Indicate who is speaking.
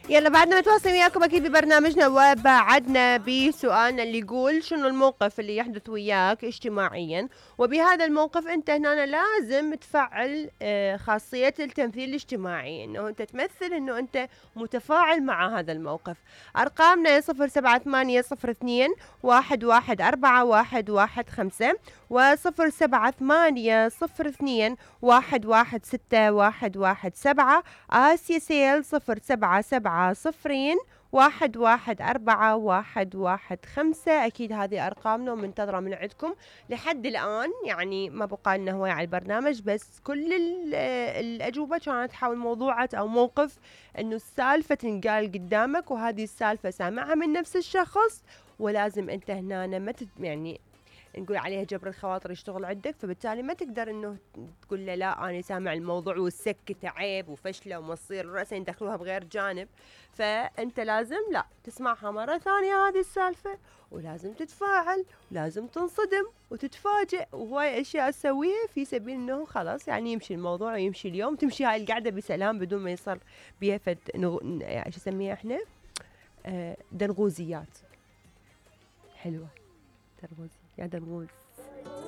Speaker 1: يلا بعدنا متواصلين وياكم اكيد ببرنامجنا، وبعدنا بسؤالنا اللي يقول شنو الموقف اللي يحدث وياك اجتماعيا، وبهذا الموقف انت هنا لازم تفعل خاصية التمثيل الاجتماعي، انه انت تمثل انه انت متفاعل مع هذا الموقف. ارقامنا 078002114115 و078002116117. آسيا سيل 0770114115. أكيد هذه أرقامنا ومنتظرة من عندكم لحد الآن، يعني ما بقى لنا هواية على البرنامج، بس كل الأجوبة كانت حول موضوعة أو موقف إنه السالفة تنقال قدامك، وهذه السالفة سامعها من نفس الشخص، ولازم أنت هنا ما يعني نقول عليها جبر الخواطر يشتغل عندك، فبالتالي ما تقدر انه تقول له لا انا سامع الموضوع والسكت عيب وفشله ومصير رأسا يدخلوها بغير جانب. فانت لازم لا تسمعها مرة ثانية هذه السالفة، ولازم تتفاعل، ولازم تنصدم وتتفاجئ، وهواي اشياء تسويها في سبيل انه خلاص يعني يمشي الموضوع ويمشي اليوم، تمشي هاي القعدة بسلام بدون ما يصير بيها فد ايش نسميها احنا دنغوزيات. حلوة درغوزي يا درغوز.